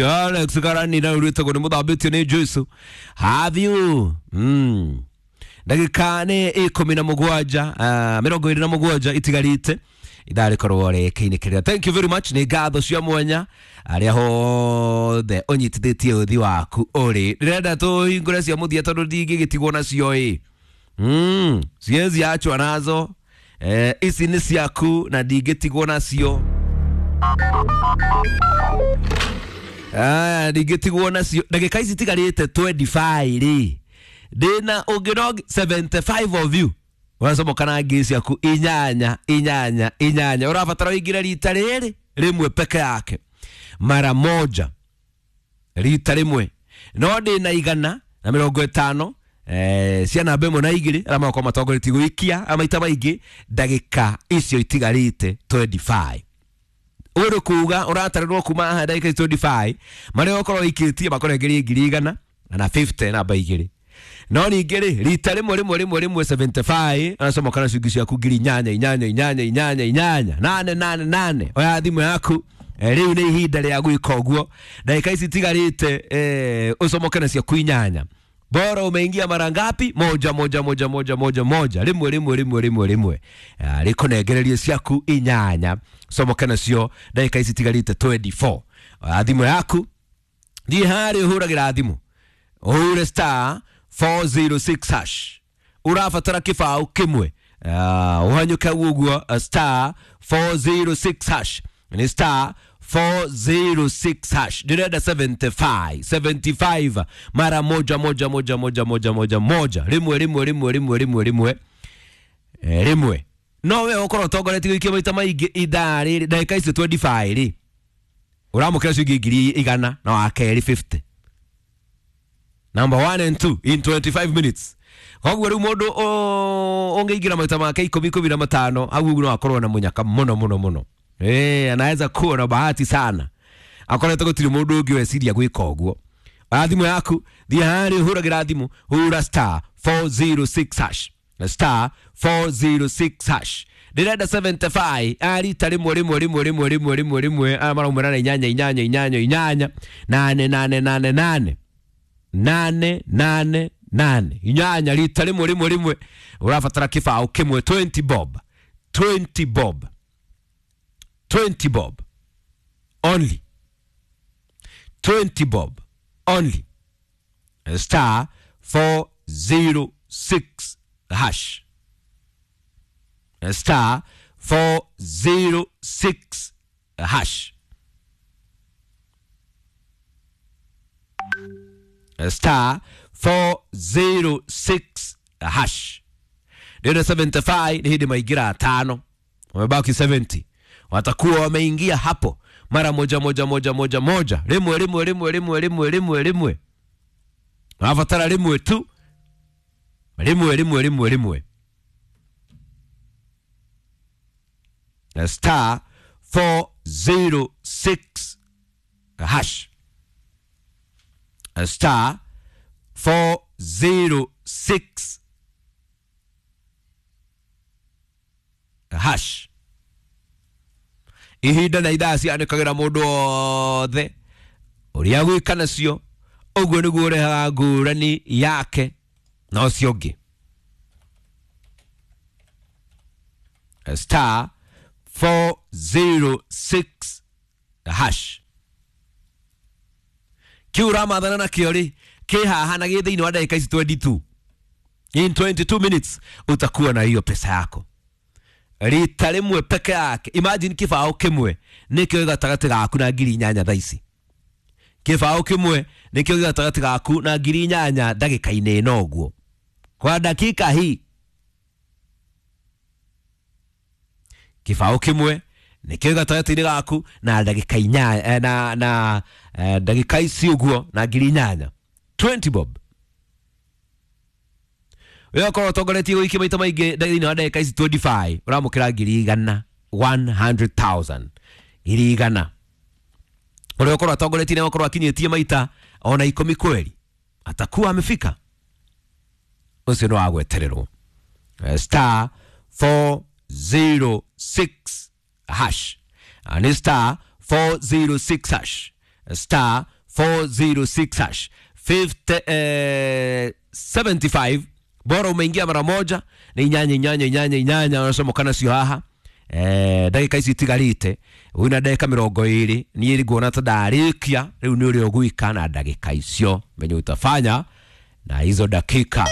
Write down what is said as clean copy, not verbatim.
Alex Karani na urĩtagwo nĩ mũthambĩtio nĩ Jesu. Have you? Ndagĩka nĩ 17, 27 itigarĩte ithaa rĩkorwo rĩkĩinĩkĩrĩra. Thank you very much, nĩ ngatho cia mwanya arĩa hothe ũnyitithĩtie ũthi waku ũrĩ. Ndĩrenda tũhingũre cia mũthia tondũ ndingĩgĩtigwo nacio ĩ. Siwezi achwa nazo. Ici nĩ ciaku na ndingĩtigwo nacio. Ndingĩtigwo nacio. Ndagĩka ici itigarĩte 25 rĩ, ndĩna ũngĩ no 75 of you ũracomoka na ngiri ciaku inyanya inyanya inyanya. Ũrabatara ũingĩre rita rĩrĩ rĩmwe peke yake, mara moja, rita rĩmwe. No ndĩna 150 cia namba ĩmwe na igĩrĩ arĩa magakorwo matongoretie gũikia maita maingĩ ndagĩka icio itigarĩte 25. Ũrĩ kuga ũratarĩrwo kuma haha ndagĩka ici 25 marĩa ũkorwo ũikĩtie makũrengerie 150 namba igĩrĩ. No ningĩ rĩ, rita rĩmwe rĩmwe rĩmwe rĩmwe 75 aracomoka na ciringi ciaku ngiri inyanya inyanya inyanya inyanya inyanya nane nane nane. Oya thimũ yaku, rĩu nĩ ihinda rĩa gwĩka ũguo. Ndagĩka ici itigarĩte, ũcomoke na ciaku inyanya. Bora umeingia mara ngapi? Moja moja moja moja moja moja, rimwe rimwe rimwe rimwe rimwe, rĩkũnengererie ciaku inyanya, comoke nacio ndagĩka ici itigarĩte 24. Oya thimũ yaku, thiĩ harĩa ũhũragĩra thimũ, ũhũre star 406 hash. Ũrabatara kĩbaũ kĩmwe, ũhanyũke ũguo star 406 hash. Ni star 406 hash. Ndĩrenda 75 75 mara moja moja moja moja moja moja moja, rimwe rimwe rimwe rimwe rimwe rimwe, rimwe. No we ũkorwo ũtongoretie gũikia maita maingĩ ithaa rĩrĩ ndagĩka icio 25 rĩ, ũramũkĩra ciringi 100,000 na wa kerĩ 50. Number 1 and 2 in 25 minutes. Koguo rĩu mũndũ ũngĩingĩra maita make ikũmi ikũmi na matano hau ũguo no akorwo na mũnyaka mũno mũno mũno. Anaweza kuwa na bahati sana. Akoretwo gũtirĩ mũndũ ũngĩ weciria gwĩka ũguo. Oya thimũ yaku, thiĩ harĩa ũhũragĩra thimũ, hũra star 406 hash. Star 406 hash. Ndĩrenda 75 arita rĩmwe rĩmwe rĩmwe rĩmwe rĩmwe rĩmwe rĩmwe, aya maraumĩra na inyanya inyanya inyanya inyanya nane nane nane nane nane nane nane inyanya, rita rĩmwe rĩmwe rĩmwe. Ũrabatara kĩbaũ kĩmwe 20 bob, 20 bob, 20 bob only, 20 bob only. Star 406 hash, star 406 hash, star 406 hash. Ndio 75 ni hidi maingira atano, wamebaki 70, watakuwa wameingia hapo mara moja moja moja moja moja, rimwe rimwe rimwe rimwe rimwe rimwe rimwe. Wafatara rimwe tu, rimwe rimwe rimwe rimwe. Star 406 hash, star 406 hash. Ihinda na ithaa cianĩkagĩra mũndũ wothe ũrĩa gwĩka nacio, ũguo nĩguo ũrehaga ngũrani yake na ũcio ũngĩ. Star 406 hash. Kĩu ũramathana nakĩo rĩ, kĩ haha na gĩ thĩinĩ wa ndagĩka ici 22. In 22 minutes utakuwa na hiyo pesa yako. Rita rĩmwe peke yake. Imagine kĩbaũ kĩmwe nĩkĩo gatagatĩ gaku na 8,000 thaa ici. Kĩbaũ kĩmwe nĩkĩo gatagatĩ gaku na 8,000 ndagĩka-inĩ ĩno ũguo. Kwa dakika hii kĩbaũ kĩmwe nĩkĩo gatagatĩ-inĩ gaku na ndagĩka inyanya, na ndagĩka ici ũguo na 8,000. 20 bob. Wewe ũkorwo ũtongoretie gũikia maita maingĩ thĩinĩ wa ndagĩka ici 25, ũramũkĩra 100,000, 100,000, 100,000. Ũrĩa ũkorwo atongoretie nĩ ũkorwo akinyĩtie maita ona 10 kweli, atakuwa amefika. Ũcio nĩ wa gwetererwo. Star 406 hash. Ni star 406 hash. Star 406 hash 50, 75 bora umeingia mara moja ni inyanya inyanya inyanya inyanya unacomoka nacio haha. Ndagĩka ici itigarĩte wĩna ndagĩka 20 niĩ nguona ta ndarĩkia rĩu nĩ ũrĩa ũgwĩka na ndagĩka icio menye utafanya na hizo dakika.